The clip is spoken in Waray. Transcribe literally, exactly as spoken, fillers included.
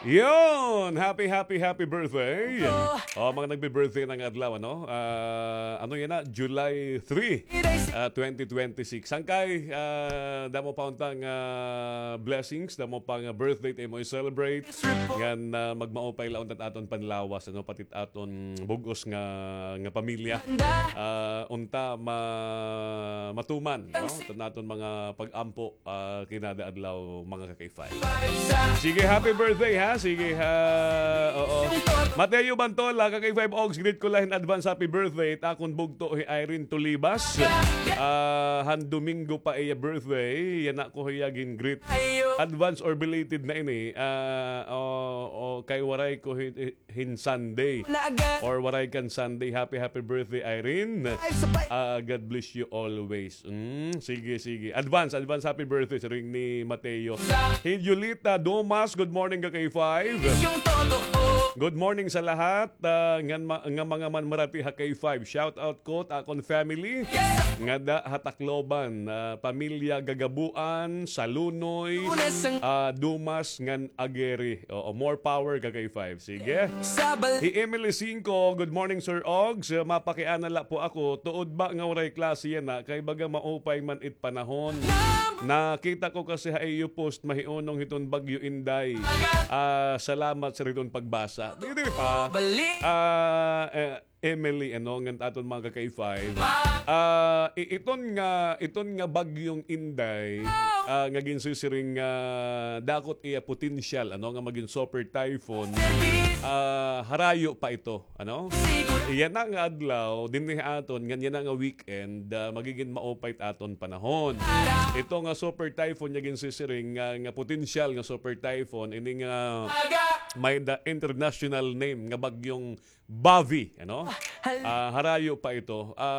Yon! Happy, happy, happy birthday! Oh, mga nagbi-birthday na nga adlaw, ano? Ah, ano yana? July three, ah, twenty twenty-six. Sangkay, ah, damo pa unta nga blessings, damo pa nga birthday it imo i-celebrate. Ngan, ah, magmaupay la unta it aton panlawas, ano? Pati it aton bug-os nga, nga pamilya. Ah, unta ma-, matuman, no? It aton mga pag-ampo, ah, kinada adlaw, mga ka-K five. Sige, happy birthday, ha? Sige, ha? Oo. Mateo Bantola, ka-K five Ogs, greet ko la hin advance happy birthday it akon bugto hi Irene Tulibas. Ah, han Domingo pa iya birthday. Yana ko hiya gin-greet. Advance or belated na ini. Ah, o, o, kay waray ko hi-, hin Sunday. Or waray kan Sunday. Happy, happy birthday, Irene. Ah, God bless you always. Mm, sige, sige. Advance, advance happy birthday siring ni Mateo. Hi Julita Domas, good morning, ka-K five. Good morning sa lahat, ah, ngan ma-, nga mga manmarati ha K five. Shout out ko it akon family. Ngada ha Tacloban, ah, pamilya Gagabuan, Salunoy, ah, Dumas, ngan Ageri. Oo, more power ka-K five. Sige. Hi Emily Cinco, good morning, Sir Ogs. Mapakiana la po ako. Tuod ba nga waray klase yana? Kay baga maupay man it panahon. Nakita ko kasi ha iyo post, mahiunong hiton Bagyo Inday. Ah, salamat sa hiton pagbasa. Diri pa. Ah, eh, Emily, ano, ngan aton mga ka-K five. Ah, i-, iton nga, iton nga Bagyong Inday, ah, nga ginsisiring nga dako it iya potensyal, ano, nga magin super typhoon. Ah, harayo pa ito, ano? Yana nga adlaw, dinhi aton, ngan yana nga weekend, ah, magigin maupay it aton panahon. Ito nga super typhoon nga ginsisiring nga, nga potensyal nga super typhoon, ini nga may the international name nga Bagyong Bavi, ano? Ah, harayo pa ito. Ah,